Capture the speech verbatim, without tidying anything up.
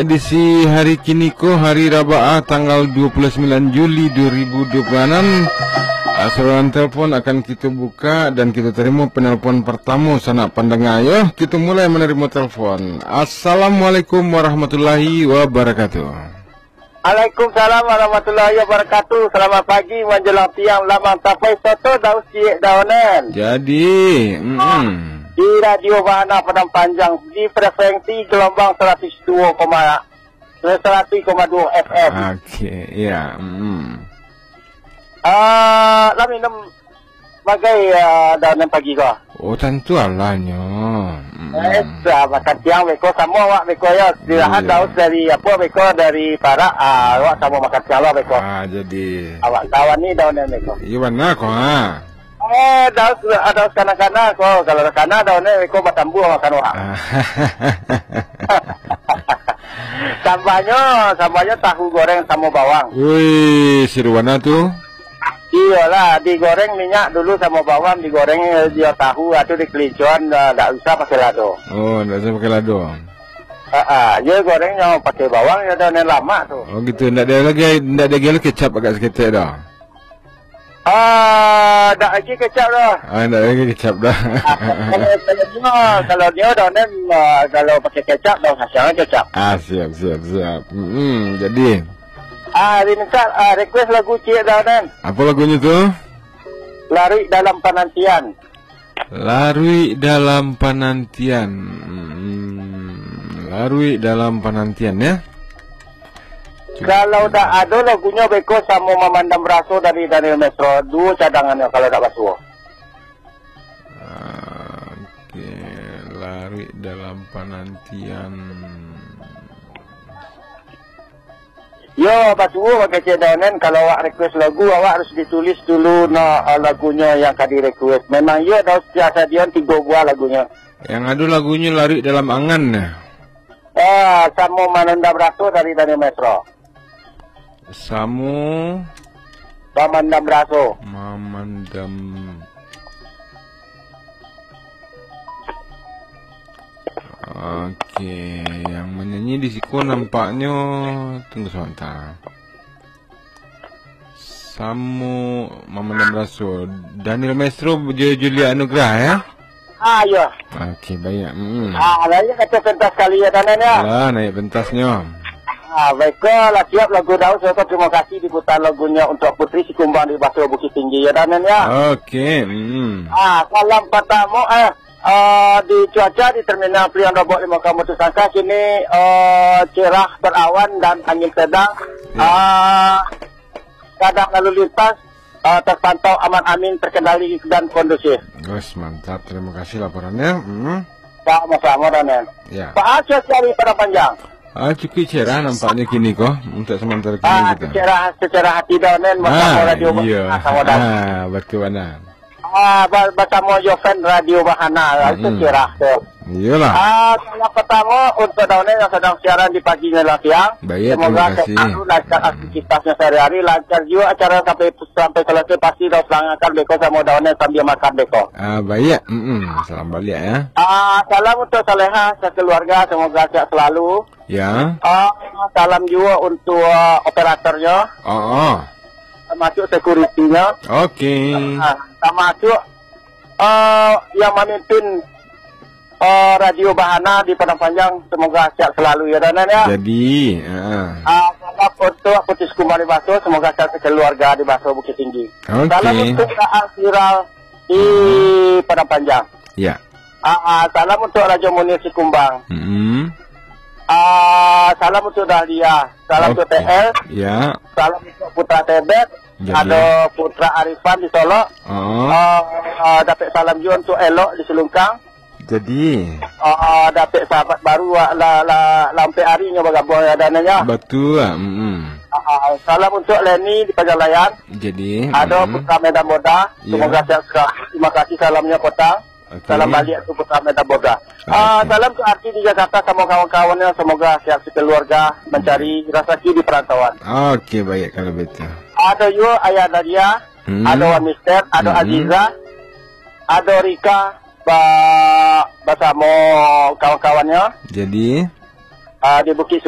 edisi hari kini ko, hari Rabaah, tanggal dua puluh sembilan Juli dua ribu dua puluh enam. Ah, saluran telepon akan kita buka dan kita terima penelpon pertama sanak pandanga, yo. Kita mulai menerima telepon. Assalamualaikum warahmatullahi wabarakatuh. Waalaikumsalam warahmatullahi wabarakatuh. Selamat pagi menjelang siang, lamang tapai soto daus ciek daonen. Jadi, mm-mm. Di Radio Bahana Padang Panjang, di frekuensi gelombang seratus dua koma, seratus koma dua F M. Oke, ya, mm-mm. Ah, lah minum bagai, ah, daonen pagi ko? Oh, tantu alah nyo. Mm-mm. Eh, sudah makan siang beko, samo awak beko yo. Istirahat. Iya. Daus dari apo beko, dari parak, ah, awak samo makan siang lah beko. Ah, jadi. Awak kawan ni daonen beko. Iyo bana ko, ha. Eh, daus, ah, daus kana-kana ko. Kalau kana daonen beko batambuah makan awak. Ah. Sambahnyo, sambahnyo tahu goreng samo bawang. Wih, seru bana tu. Iyolah, digoreng minyak dulu samo bawang, digoreng, eh, jo tahu, atu dikelicoan, dah, dak usah pakai lado. Oh, dak usah pakai lado. Ha, ah, yo goreng nyo pakai bawang, yo daonen lamak tu. Oh, gitu. Ndak ado lagi, ndak ado lagi kecap agak saketek dah? Ah, dak lagi kecap dah. Ah, ndak ado lagi kecap dah. Ah, kalau, kalau nio, kalau nio daonen, ah, kalau pakai kecap, daun kasiang kecap. Ah, siap, siap, siap. Hmm, jadi. Ah, diminta, ah, request lagu ciek daonen. Apa lagunyo tu? Laruik Dalam Panantian. Laruik Dalam Panantian. Hmm, Laruik Dalam Panantian, ya. Kalau dak ado lagunyo beko samo Mamandam Raso dari Daniel Mesro, duo cadangannyo kalau dak basuo. Oke, Laruik Dalam Panantian. Yo, basuo kecek daonen, kalau awak request lagu, awak harus ditulis dulu no, eh, lagunyo yang ka di-request. Memang yo, daus sadion tigo buah lagunyo. Yang ado lagunyo Laruik Dalam Angan, nah. Ah, samo Mamandam Raso dari Daniel Mesro. Samo Mamandam Raso. Mamandam. Oke, yang menyanyi di siko nampaknyo, tunggu sebentar. Samo Mamandam Raso. Daniel Mesro jo Julia Anugrah, ya? Ah, iyo. Oke, baik. Mm-mm. Ah, lah, iyo, kato pentas kali yo, daonen, yo. Lah, naik pentasnyo. Ah, baik, ko lah siap lagu daus, ko terima kasih diputar lagunyo untuk Putri Sikumbang di Baso Bukittinggi, yo, daonen, yo. Oke, mm. Ah, salam patamo, eh, eh, di cuaca di Terminal Priok Lobok Limau Kamu tu sangka kini, eh, cerah berawan dan angin sedang. Ya. Ah, kadang lalu lintas, eh, terpantau aman amin, terkendali dan kondusif. Bos, mantap. Terima kasih laporannya. Hmm. Sama-sama, daonen. Ya. Pak Aceh dari Padang Panjang. Ah, cukup cerah nampaknya kini ko, untuk sementara kini. Ah, kita. Secerah, secerah hati daonen, bersama. Ah, Radio, iya. Bersama daonen. Ah, betul bana. Ah, ba-, bersama Joven Radio Bahana, itu. Mm-mm. Cerah tu. Iyalah. Ah, salam pertama untuk daonen yang sedang siaran di pagi menjelang siang. Baik, terima kasih. Semoga selalu lancar aktivitasnya sehari-hari, lancar juga acara sampai, sampai selesai, pasti daus langakan beko samo daonen sambil makan beko. Ah, baik. Mm-mm. Salam balik, ya. Ah, salam untuk Saleha sekeluarga, semoga sehat selalu. Ya. Ah, salam juga untuk, ah, operatornya. Oh, oh. Termasuk security-nya. Oke. Ah, termasuk, ah, yang memimpin, ah, Radio Bahana di Padang Panjang, semoga sehat selalu, ya, daonen, ya. Jadi, ah. Ah, salam untuk Putri Sikumbang di Baso, semoga sehat sekeluarga di Baso Bukittinggi. Oke. Salam untuk Raal Viral di, hmm, Padang Panjang. Ya. Ah, ah, salam untuk Rajo Munir Sikumbang. Mm-mm. Ah, salam untuk Dahlia. Salam untuk, oke, T L. Ya. Salam untuk Putra Tebet. Jadi. Ada Putra Arifan di Solok. Oh. Ah, ah, dapek salam juga untuk Elok di Selungkang. Jadi. Ah, ah, dapek sahabat baru, ah, la, la, la ampek arinyo bagabung, ya, daonennyo. Batua. Mm-mm. Ah, ah, salam untuk Leni di Pagalayan. Jadi. Ada, mm-mm, Putra Medan Boda. Ya. Semoga sehat selalu. Terima kasih salamnya, Potang. Oke. Salam baliak tu Putra Medan Boda. Oke. Ah, salam tu Arti di Jakarta samo kawan-kawannyo. Semoga sehat sekeluarga, mencari, hmm, rasaki di perantauan. Oke, baik kalau begitu. Ada yo Ayah Nadia, hmm, ada Wan Mister, ada, hmm, Aziza, ada Rika, ba-, basamo kawan-kawannyo. Jadi? Ah, di Bukit